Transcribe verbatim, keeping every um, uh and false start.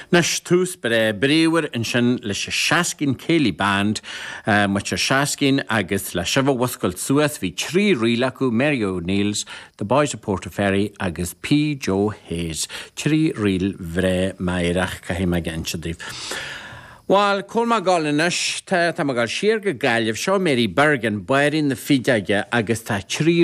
Anois tús breá bríomhar ansin leis an Shaskeen Céilí Band muintir Shaskeen agus le sibh a mhuscailt suas bhí trí ríl acu Mary O'Neill's, The Boys of Portaferry agus P. Joe Hayes. Trí ríl bhreá meidhreach caithfidh mé a inse daoibh. Well, cá bhfuil mé ag gabháil anois tá tá mé ag gabháil siar go Gaillimh seo Mary Bergin Báirín na Fideoige agus tá trí